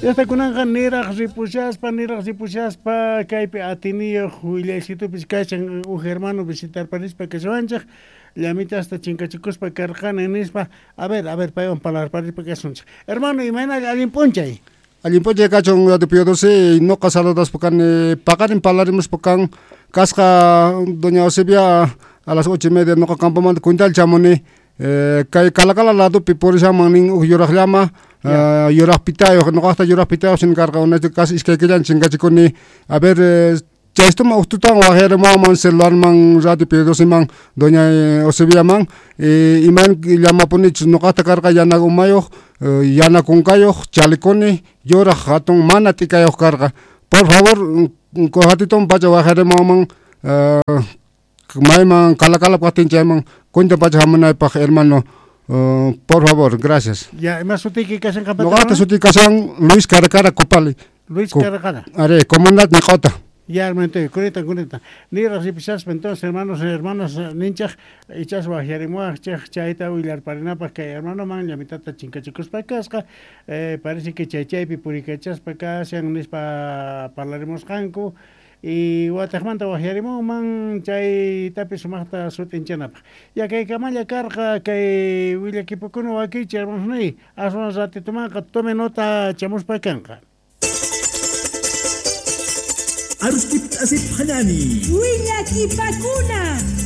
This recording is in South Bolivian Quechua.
Llaqta kunanqa niraq ripushaspa, niraq ripushaspa kaypi atiniyuq willaysitupis kashan uj hermano visitarparispa kashawanchej, llamitasta chinkachikuspa karqani nispa. A ver, a ver, paywan parlarparispa kasunchej. Hermano, imaynalla allin p'unchay? Allin p'unchay kachun Radio Pío XII, noqa saludaspa kani paqarin parlarimuspa kan kasqa doña Eusebia a las 8:30 noqa campomanta cuental chamuni kay Calacala ladopi purishanman nin uj yuraj llama yuraj pitayoj noqajta yuraj pitayoj shin karqa unayta casi iskay killan chinkachikuni a ver chaystuma uj tutan wajyarimuwanman celularman Radio Pío XII-man doña Eusebiaman iman llamapunichus noqajta karqa yana umayoj yana kunkayoj chalikuni yuraj jatun mana t'ikayoj karqa por favor ratitun pacha wajyarimuwanman mayman Calacala kajtin chayman cuenta pacha jamunaypaj hermano por favor gracias. Ya, ima sutiyki kashan qanpata? Noqajta sutiy kashan Luis Caracara Copali. Luis Caracara. Are, comunidad Niqota. Ya, hermano, kunita, kunita. Niraj ripishaspa, entonces, hermanos y hermanas, ninchaj, ichas wajyarimuwajchej chayta willarparinapaj kay hermanoman llamitata chinkachikuspa kasqa, parece que chay chaypi purikachaspa kashan nispa parlarimusqanku, y watejmanta wajyarimunman chaytapis sumajta sut'inchanapaj. Ya kaykamalla karqa kay willakipukuna wakichi, hermanos niy, aswan ratitumanqa tome nota chamuspa kanqa. Arustip asip hanani. Willakipakuna.